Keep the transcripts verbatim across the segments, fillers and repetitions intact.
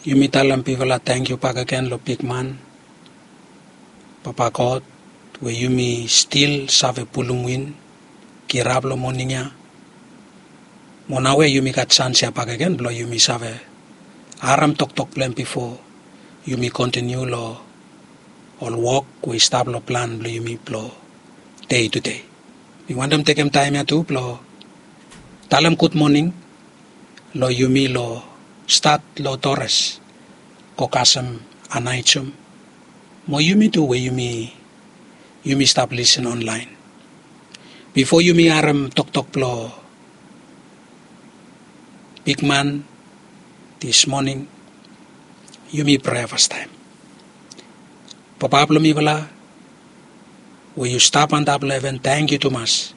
Yumi talem bifala tangkiu bakegen long bigman, Papa God, we yumi stil save pulum win kirap long moning ya. Mo naoia yumi gat sans ya bakegen blong yumi save harem toktok blong hem bifo yumi kontiniu long ol wok we i stap long plan blong yumi blong dei tudei. Mi wantem tekem taem ya tu blong talem gudmoning long yumi long stat long Torres go kasem Anaijum, mo yumi tu we yumi yumi stap lisin onlaen. Bifo yumi harem toktok blong bigman dismoning, yumi prea fastaem. Papa blong mifala we yu stap antap long heven, tangkiu tumas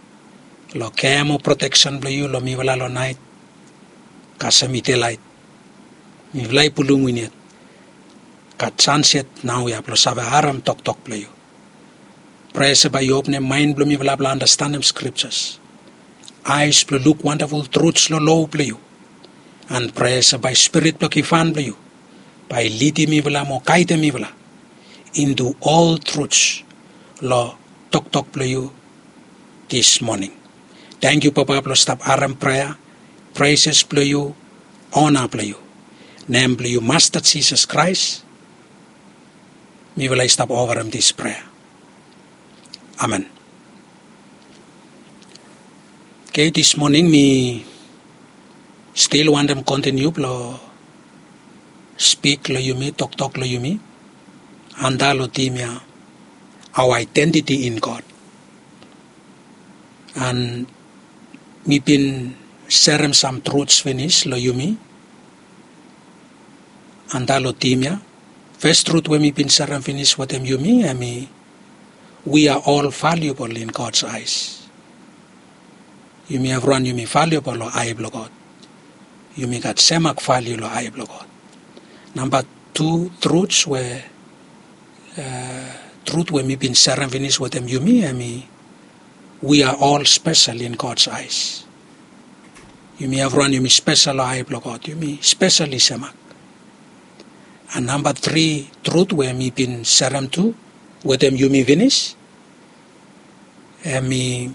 long kea mo proteksen blong yu long mifala long naet kasem i delaet. Mifala i pulum win yet, gat sans yet naoia blong save harem toktok blong yu. Prea se bae yu openem maen blong mifala blong andastanem skriptas, aes blong luk wandaful truts long lo blong yu. An prea se bae spirit blong givhan blong yu bae i lidim mifala mo gaedem mifala intu ol truts long toktok blong yu dismoning. Tangkiu Papa blong stap harem prea, preses blong yu, ona blong yu. Nem blong yu Masta Jisas Kraes mifala i stap ofarem dis prea. Amen. Oke, dismoning mi stil wantem kontiniu blong spik long yumi, toktok long yumi antap long tim ya, our identity in God. An mi bin serem sam truts finis long yumi antap long tim ya. Fes trut we mi bin serem finis wetem yumi hemi, we are all valuable in God's eyes. Yumi evriwan yumi valuable long ae blong God. Yumi gat semak valiu long ae blong God. Namba tu truts we, trut we mi bin serem finis wetem yumi hemi, we are all special in God's eyes. Yumi evriwan yumi spesel long ae blong God, yumi spesel i semak. An namba tri trut we mi bin serem tu wetem yumi finis hemi,